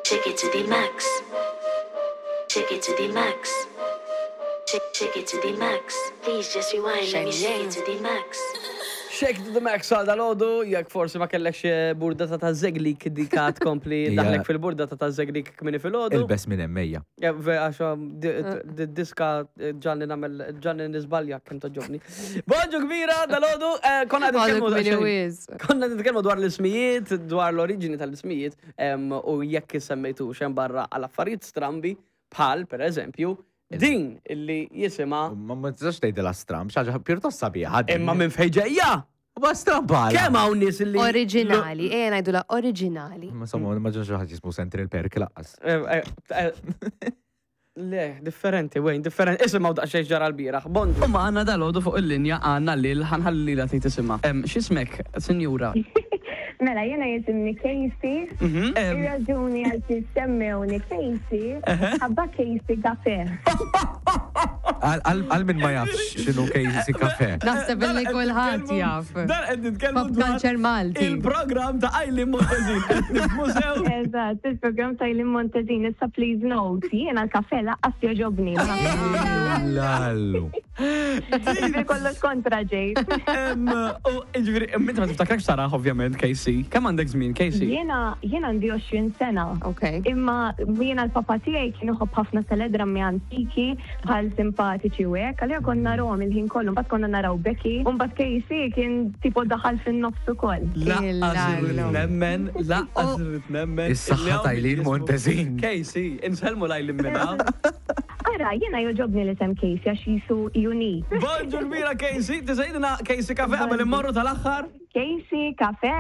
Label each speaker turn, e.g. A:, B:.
A: Take it to the max. Take it to the max. Take, take it to the max. Please just rewind, let me shake it to the max.
B: Shake to the max għal dal-ħodu, jekk forsi ma kellekx eh, burdata ta' zeglik dika tkompli
C: Hija-
B: daħlek fil-burdata ta' zeglik kmini fil-ħodu.
C: Il-bes minn emmejja.
B: Eh, ve- Għax um, di- di- diska eh, ġanni namel, ġanni nisbalja kem toġobni. Bonġu kbira dal-ħodu, eh, konna
D: Għadu
B: nitkellmu
D: kmini
B: daqsxejn-
D: wiz.
B: Konna nitkellmu dwar l-ismijiet, dwar l-oriġini tal-ismijiet, em, u jekk semmejtu xem barra għal affarijiet strambi, bħal, per eżempju, din illi jisima
C: Ma ma tistax tgħidilha stramb, xi ħaġa pjuttost sabiħa. din.
B: imma minn fejn ġejja.
C: Ma stramb għala.
B: Kemm hawn nies illi
D: Oriġinali, ejja ngħidula oriġinali.
C: Ma somma, ma ġenx ħadd jismu Central Perk laqqas.
B: Eh, eh, eh, Le, differenti, Wayne, differenti. Isimgħu daqsxejn ġara l-bieraħ. Bonġu. U magħna dal-għodu fuq il-linja għandna lil ħanħalli lilha tgħid isimha. Em, X'ismek, sinjura?
E: Mela, jena jisimni Casey.
B: Mhm.
E: Ir-raġuni għal semmewni Casey, ħabba Casey Cafe.
C: Għal min ma jafx x'inhu Casey Cafe.
D: Naħseb li kulħadd jaf.
B: Dan qed nitkellmu
D: Pop
B: dwar
D: culture Malti.
B: Il-programm ta' Eileen Montezin qed nifhmu sew.
E: Eżatt, il-program ta' Eileen Montezin, issa please note, jiena l-kafe laqqas joġobni.
C: Lallu.
E: Ġifieri kollox kontra ġejt.
B: Em, U ġifieri, inti ma tiftakrek saraħ ovvjament, Casey. Kemm għandek żmien, Casey?
E: Jiena jiena għandi 20 sena.
D: Ok.
E: Imma jiena l-papa tiegħi kien iħobb ħafna teledrammi antiki bħal simpatiċi u hekk, għalija konna narawhom il-ħin kollu, mbagħad konna naraw Becky, u mbagħad Casey kien tipo daħal fin-nofs ukoll.
B: Laqqas irrid nemmen, laqqas irrid nemmen.
C: Is-saħħa ta' Eileen Montezin.
B: Casey, insellmu l-Eileen minna.
E: Ara, jiena joġobni l-isem Casey għax jisu unique.
B: Bonġu kbira Casey, tisejdina Casey Cafe qabel immorru tal-aħħar.
E: Casey Cafe!